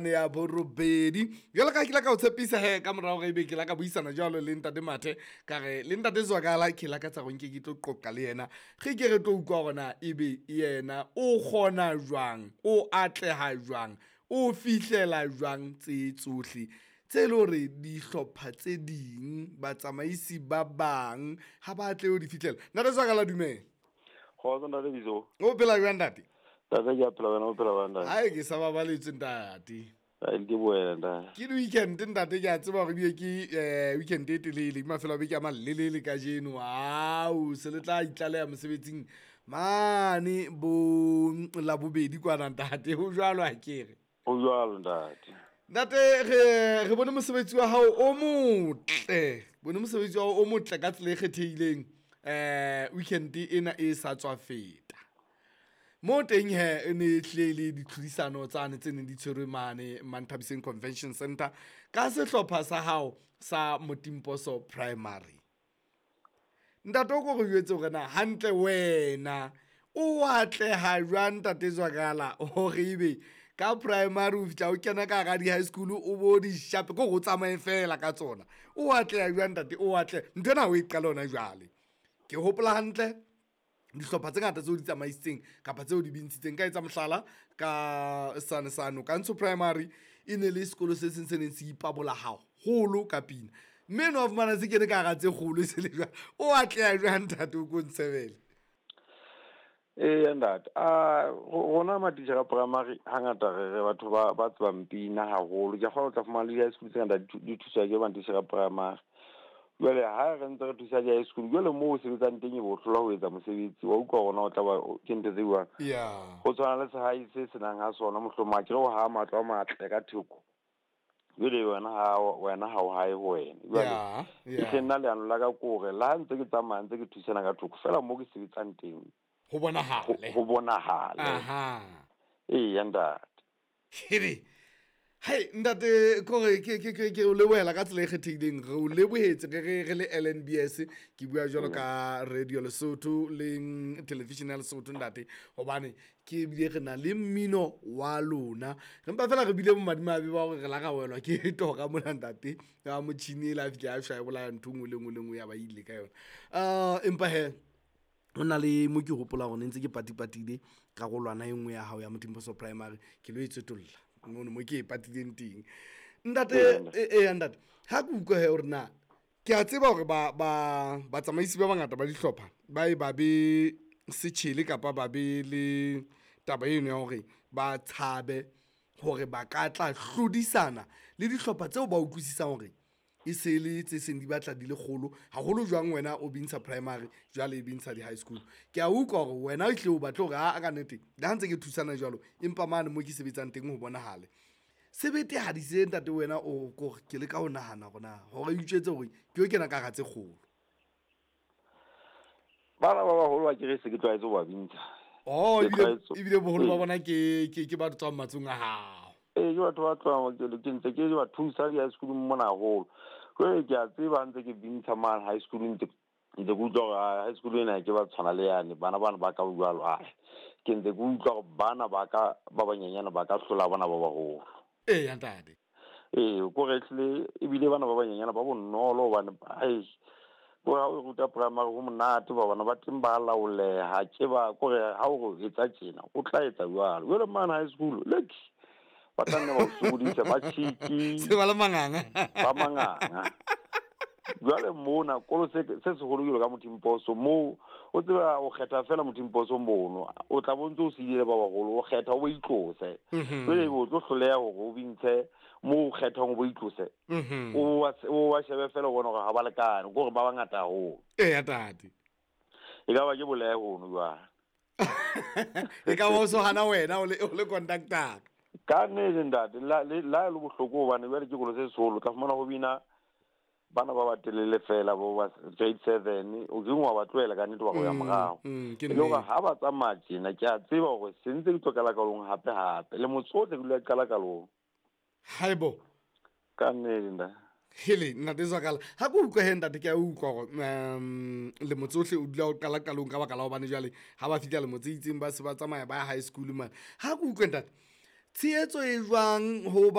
Ya borobedi jwalo ka ke la ka o tshepisa he ka morao re ebe ke la ka buisana jwalo le ntate Mathe, ka re le ntate Zwakala ke lakatsa gore nke ke tlo qoqa le yena, re ke re tlo utlwa hore na ebe yena o kgona jwang, o atleha jwang, o fihlela jwang tse tsohle tse le hore dihlopha tse ding batsamaisi ba bang ha ba tle ho di fihlela. Ntate Zwakala, dumela. Kgotso ntate Bizo. O phela jwang ntate? Ntate ke a phela, wena o phela jwang ntate? Hae ke sa babaletswe ntate. Ai ke boela ntate. Ke di-weekend ntate, ke a tseba hore ebile ke weekend e telele, ke mafelo a beke a malelele kajeno. Au, se le tla itlaleha mosebetsing mane bo Labobedi kwana ntate, ho jwalo akere? Ho jwalo ntate. Ntate re bone mosebetsi wa hao o motle, bone mosebetsi wa hao o motle ka tsela e kgethehileng weekend ena e sa tswa feta. Mo teng he e ne e hlile le ditlhodisano tsane tse neng di tshwerwe mane Manthabiseng Convention Center ka sehlopha sa hao sa Motimposo Primary. Ntate o ko re jwetse hore na hantle wena o atleha jwang ntate Zwakala hore ebe ka primary o fihla o kena ka hara di-high school o bo di shape, ke hore o tsamaye fela ka tsona. O atleha jwang ntate? O atleha nthwena ha o e qale hona jwale. Ke hopola hantle dihlopha tse ngata tseo di tsamaisitseng kapa tseo di bintshitseng. Ka etsa mohlala ka sane sano Kantsho Primary e ne le sekolo se seng se neng se ipabola haholo ka pina, mme no wa fumana se kene ka hara tse kgolo e se le jwang. O atleha jwang ntate, o ko ntshebele? Eya ntate, a rona matitjhere a primary hangata re batho ba tsebang pina haholo. Ke a kgolwa o tla fumana le di-high school tse ngata di thuswa ke matitjhere a primary. Jwale ha re ntse re thusa di-high school, jwale moo o sebetsang teng e bo hlola ho etsa mosebetsi, wa utlwa hore na o tla ba ke ntho tse jwang. Ho tshwana le sehae se senang ha sona, mohlomong akere o haha matlo a matle ka theko. Jwale wena ha o hae ho wena. Jwale ehlile nna leano la ka ke hore le ha ntse ke tsamaya ntse ke thusana ka thoko, feela moo ke sebetsang teng ho bonahale. Ho bonahale. Eya ntate. Hebe. Hai ntate, kore ke o lebohela ka tsela e kgethehileng, re o lebohetse re le LNBS, ke bua jwalo ka Radio Lesotho le television ya Lesotho ntate, hobane ke ebile re na le mmino wa lona. Re mpa fela re bile bomadimabe ba hore re la ra welwa ke tora mona ntate, ya motjhini e la fihla ya shwa e bolaya ntho e nngwe le nngwe le nngwe ya ba ile ka yona. Empa he ho na le mo ke hopola hore ne ntse ke patipatile karolwana e nngwe ya hao ya Motimposo Primary, ke lo e tswetolla mono mo ke e patileng teng. Ntate, ntate, ha ke utlwa he hore na ke a tseba hore batsamaisi ba bangata ba dihlopha ba e ba be setjhele kapa ba be le taba eno ya hore ba tshabe hore ba ka tla hlodisana le dihlopha tseo ba utlwisisang hore e se le tse seng di batla di le kgolo haholo. Jwang wena o bintsha primary jwale e bintsha di-high school, ke a utlwa hore wena o hle o batle hore a ka nnete le ha ntse ke thusana jwalo, empa mane mo ke sebetsang teng ho bonahale sebete ha di se ntate. Wena o kore ke leka ho nahana hore na hore o itjwetse hore ke yo kena ka hara tse kgolo. Bana ba baholo ba ke re se ke tlwaetse ho ba bintsha. Oh, Ke tlwaetse. ebile boholo ba bona ke batho tswang matsong a hao. Ee, ke batho ba tlohang, ke ntse ke ba thusa di-high school mona haholo. Jwale ke a tseba ha ntse ke bintsha mane high school, ntse ke utlwa hore, high school ena ke ba tshwana le yane, bana bana ba ka jwalo, ke ntse ke utlwa hore bana ba ka ba banyenyane ba ka hlola bana ba baholo. Eya ntate. Ee, ko re ehlile ebile bana ba banyenyane ba bonolo hobane, ai, ko ha o ruta primary ho monate, ba bana ba teng ba laoleha, ke ba ko re ha o re etsa tjena o tla etsa jwalo. Jwale mane high school, look, ba tla nne ba o sokodisa, ba cheeky. Se ba le manganga. Ba manganga. Jwale mona kolo se seholo jwalo ka Motimposo, moo o tseba o kgetha fela Motimposo mono, o tla bo ntse o siile ba baholo, o kgetha o bo itlose. Jwale o tlo hloleha hore o bintshe moo o kgethang o bo itlose. O wa shebe fela o bone hore ha ba lekane, ke hore ba bangata haholo. Eya ntate. E ka ba ke bolehe hono jwale. E ka ba o so hana wena o le conductor. Ka nnete ntate, la le bohloko hobane jwale ke kolo se seholo, tla fumana ho bina bana ba batelele fela bo ba grade 7, o ke wa ba tlohela ka nnete wa go ya morao. Ke E le hore nnete. ha ba tsamaya tjena, ke a tseba hore se ntse ke tlo qala kalong hape hape. Le motse ohle ke dula ke qala kalong. Haebo. Ka nnete ntate. Hele, ntate Zwakala, ha ke utlwa he ntate, ke a utlwa hore, le motse ohle o dula o qala qalong ka baka la hobane jwale ha ba fihla le motse itseng ba se ba tsamaya ba ya high school mane. Ha ke utlwe ntate, Tshehetso e jwang ho